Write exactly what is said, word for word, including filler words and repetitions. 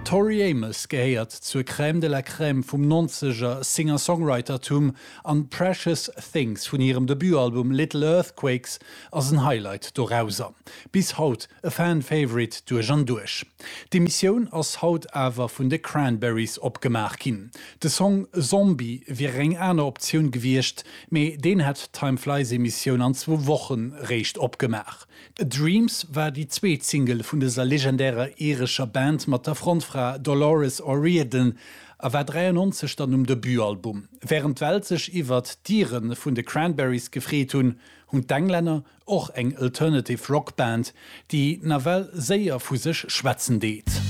Tori Amos gehéiert zur Crème de la Crème vum nonzeger Singer-Songwritertum an Precious Things vun hirem Debutalbum Little Earthquakes ass en Highlight dorauser. Bis haut e Fan-Favorite duerch an duerch. D'Emissioun ass haut awer vun de Cranberries opgemaach ginn. De Song Zombie wier eng aner Optioun gewiescht, mee deen hätt Time Flies Emissioun an zwou Wochen réischt opgemaach. Dreams war déi zweet Single vun dëser legendärer irescher Band mat der Frontfra Dolores O'Riordan a war dräiannonzeg dann um Debutalbum. Wärend d'Welt sech iwwert d'Iren vun de Cranberries gefreet hunn, hunn d'Englänner och eng Alternative Rock Band, déi nawell séier vu sech schwätzen deet.